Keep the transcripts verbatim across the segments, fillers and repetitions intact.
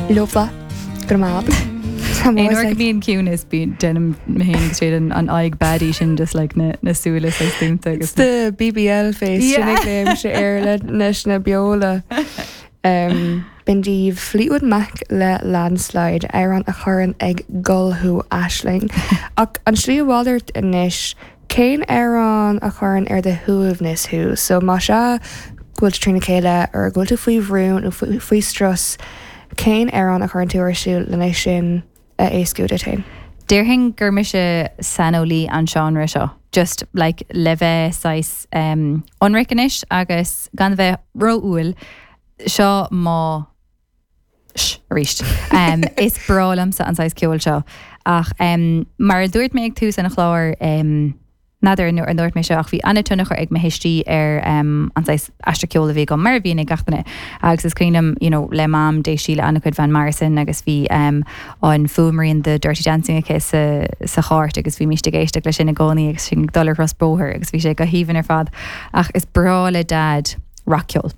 Leofa go maith. Aon uair go mbíonn ciúnas bíonn déanaim mé féin agus siad an an aghaidh baddie sin just like na na súile saghas dúnta agus The BBL face Yeah. sin sé air le leis na beola. Um, B'in daoibh Fleetwood Mac le Landslide amhrán a chuireann ag gol thú Aisling. Ach an slí mhalairt anois cén amhrán a chuireann ar do shuaimhneas thú, so má sé go bhfuil trína chéile ar go bhfuil tú faoi bhrú nó faoi faoi strus, cén amhrán a chuireann tú ar siúl lena sin a éascú duit féin. Déarfainn gur mise saineolaí an seánra seo. Just like le bheith saghas um, ionraic anois agus gan bheith ró-umhal seo má arís. Um, is breá liomsa an saghas ceoil seo ach um, mar a dúirt mé ag tús an chláir um, N'fheadar an ndúirt mé seo ach bhí an-tionchar ag mo thuistí ar um, an saghas aistear ceoil a bhí agam mar a bhíonn ag gach duine. agus is cuimhin you know, le mam d'éist sí le an-chuid Van Morrison agus bhí um, an fuaimrian de Dirty Dancing aici sa, sa chairt agus bhí mise ag éisteacht leis sin i gcónaí agus sin dul ar ros bóthar agus bhí sé go haoibhinn ar fad ach is breá le dad rac-cheol.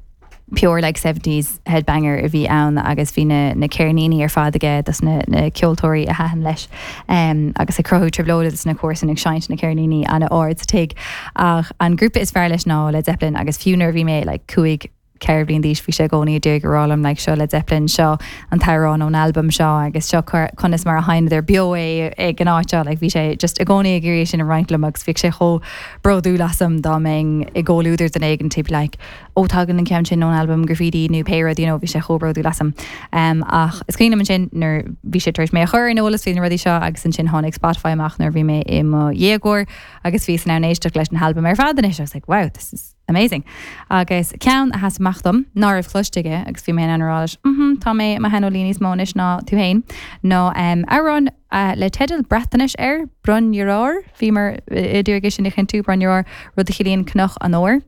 pure like seventies headbanger a bhí ann agus bhí na, na ceirníní ar fad aige dos na, na ceoltóirí a thaitin leis um, agus ag cruthú trioblóide dos na comharsana ag seinnt na ceirníní an-ard sa tigh ach an grúpa is fearr leis ná Led Zeppelin agus fiú nuair bhí mé like, cúig ceithre bliana d'aois bhí sé i gcónaí ag rá liom like, seo Led Zeppelin seo an t-amhrán ón album seo agus seo conas mar a sheinneadar beo é ag an áit seo like, bhí sé just i gcónaí ag iarraidh sin a roinnt liom agus bhí sé chomh bródúil asam dá mbeinn i gcomhluadar duine éigin type like ó tagann an ceann sin ón album graffiti nó pé rud you know, bhí sé chomh bródúil asam. Um, ach is cuimhin sin nuair bhí sé tar éis mé a chur in eolas faoi na rudaí seo agus ansin tháinig Spotify amach nuair bhí mé i mo dhéagóir agus bhí san ann éisteacht leis an album ar fad anois I was like wow this is amazing. Agus ceann a sheas amach dom ná raibh cloiste aige agus bhí mé an rá leis mm -hmm, tá mé mar shaineolaí níos mó anois ná tú féin nó um, amhrán uh, le teideal Breatnais air Bryn yr Aur bhí mar idir sin chinntiú Bryn yr Aur rud a chiallaíonn Cnoc an Óir.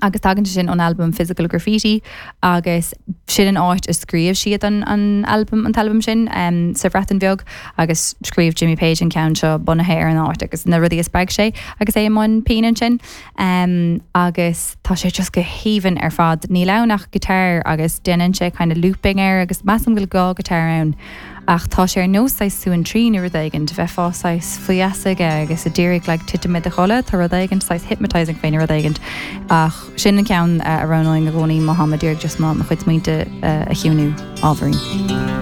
agus tagann sin ón album Physical Graffiti agus sin an áit a scríobh siad an, an album an t-album sin um, sa Bhreatain Bheag agus scríobh Jimmy Page an ceann seo bunaithe ar an áit agus na rudaí a spreag sé agus é i mbun pinn ansin um, agus tá sé just go haoibhinn ar fad níl ann ach guitar agus déanann sé kind of looping air agus measaim go bhfuil dhá guitar ann ach tá sé ar nós suan trí nó rud éigin de bheith fásáis faoasaige agus a dtírig le titim i do chodladh tá rud éigin saghas hypnotizing féin rud éigin ach sin an ceann a roghnóinn i gcónaí má táim ag iarraidh just má mo chuid smaointe a chiúnú ábhairín.